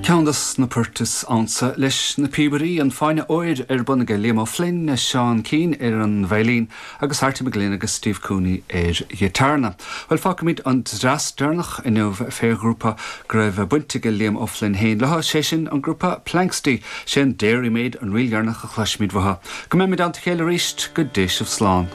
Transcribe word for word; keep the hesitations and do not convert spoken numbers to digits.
Ceann des na poirt is ansa leis na píobairí an Fáinne Óir ar bun aige Liam O'Flynn Seán Keane ar an veidhlín agus Arty McGlynn agus Steve Cooney ar ghiotárna. Well fágfaimid an dreas deireanach inniu fé ghrúpa go raibh baint ag Liam O'Flynn féin leo sé sin an grúpa Planxty sé an Dairymaid an ríl dheireanach a chloisfimid uathu. Go mbeimid ann le chéile arís go dté sibh slán.